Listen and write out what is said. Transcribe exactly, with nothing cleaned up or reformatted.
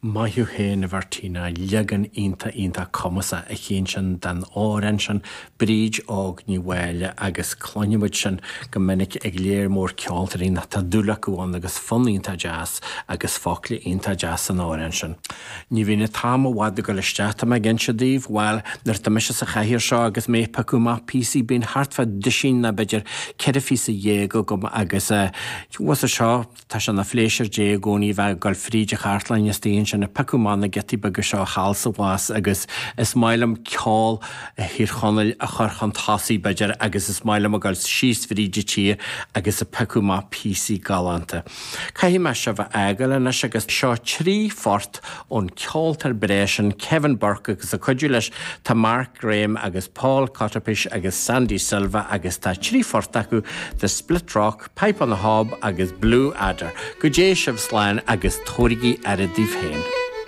Maith thú féin a Mhartina leagan iontach iontach cumasach a chéin sin den amhrán sin Bríd Óg Ní Mháille agus cluinimid sin go minic ag léir mór ceoltóirí nach tá dúil acu ann agus fonn iontach deas agus focla iontach deas san amhrán sin. Ní bhíonn an t-am i bhfad ag dul isteach tá mé ag inse daoibh bhuel nuair atá mise sa chathaoir seo agus mé ag piocadh amach píosaí bíonn thart fá duisín nó b'fhéidir ceithre phíosa dhéag agam agus uh, seo tá sé ina phléisiúr Dé i gcónaí bheith ag dul fríd an chartlann istigh ansin ag piocadh amach na giotaí beaga seo thall is abhus agus is maith liom ceol Thír Chonaill a chur chun tosaigh b'fhéidir agus is maith liom ag dul síos fríd an tír agus ag piocadh amach píosaí galánta. Caithfidh mé sibh a fhágáil anois agus seo trí phort ón ceoltóir breá sin Kevin Burke agus ag cuidiú leis tá Mark Graham agus Paul Cotterpish agus Sandy Silva agus tá trí phort acu The Split Rock, Pipe on the Hob agus Blue Adder. Go dté sibh slán agus tabhairigí aire daoibh féin.